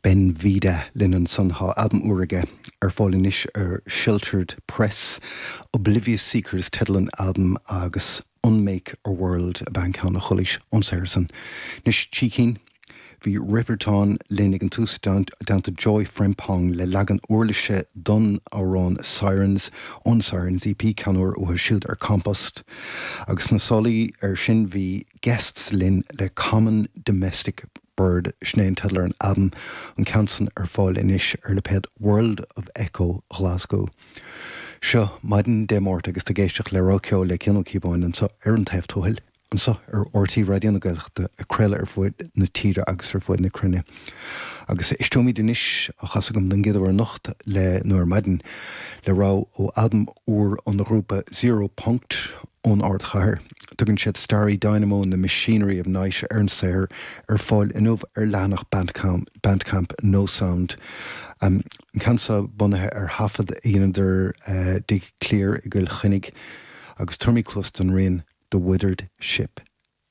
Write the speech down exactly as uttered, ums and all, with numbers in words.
Ben Vida linn ansan tá albam úr aige ar fáil anois ar Sheltered Press, Oblivious Seekers teideal an albaim agus Unmake a World ab ea an ceann a chualaís ón saothar san. Anois trí cinn bhí Ripperton linn ag an tús i dteannta Joy Frempong le leagan uirlise don amhrán Sirens ón Sirens EP ceann úr uathu siúd ar Compost. Agus na sálaí ar sin bhí guests linn le Common Domestic Bird sin é an teideal ar an albam an ceann san ar fáil anois ar lipéad World of Echo Glasgow. Seo maidin Dé Máirt agus tú ag éisteacht le Rogha Ceoil le Cian Ó Cíobháin anseo ar an taobh tuathail. Anseo ar RTÉ Raidió na Gaeltachta ag craoladh ar fud na tíre agus ar fud na cruinne. Agus éisteoimid anois á chasadh agam don gcéad uair anocht le nó ar maidin le rogha ó albam úr ón ghrúpa Zero Punkt ón ardchathair. Tugann siad Starry Dynamo and the Machinery of Night ar an saothar ar fáil inniu ar leathanach Bandcamp, Bandcamp No Sound. Um, an ceann seo bunaithe ar thaifead a dheineadar uh, i dTigh Clear i gCill Chainnigh agus tabharfaimid cluas don rian The Withered Ship.